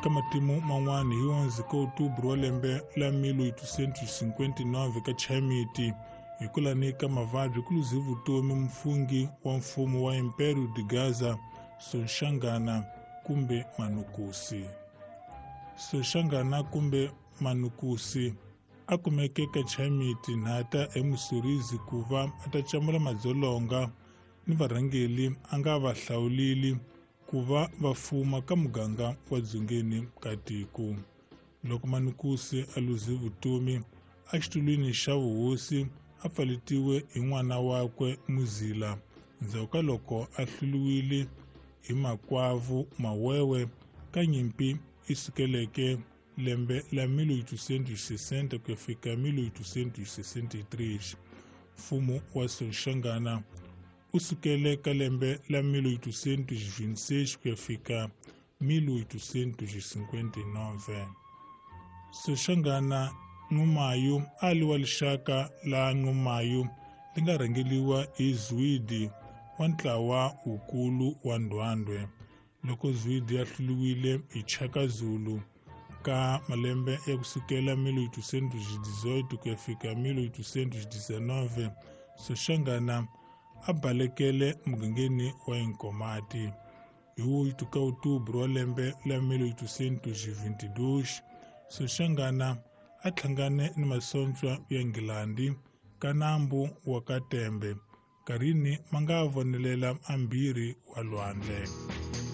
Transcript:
Ka matimu man'wana hi 11 ka outubro wa lembe la 1859 ka Chaimiti hi kulani ka mavabyi ku luze vutomi mufungi wa mfumo wa Império de Gaza Soshangana kumbe Manukusi. Soshangana kumbe Manukusi a kumeke ka Chaimiti nhata eMusorizi ku va a ta camula madzolonga ni varhangeli a nga va hlawulili ku va va fuma ka muganga wa dzongeni ka tiko. Loko Manukusi a luze vutomi exitulwini xa vuhosi a pfaletiwe hi n'wana wakwe Muzila ndzhaku ka loko a hluriwile hi makwavu Mawewe ka nyimpi yi sukeleke lembe la 1860 ku ya fika 1863. Mfumo wa Soshangana u sukele ka lembe la 1826 ku ya fika 1859. Soshangana Nxumalo a li wa lixaka la Nxumalo li nga rhangeliwa hi Zwide wa ntlawa wukulu wa Ndwandwe. Loko Zwide a hluriwile hi Chaka Zulu ka malembe ya kusukela 1818 ku ya fika 1819, Soshangana a balekele mugangeni wa Inkomati. Hi 8 ka outubro wa lembe la 1822, Soshangana a hlangane ni masocha ya Nghilandhi ka nambu wa Katembe, karini ma nga vonelela ambirhi wa lwandle.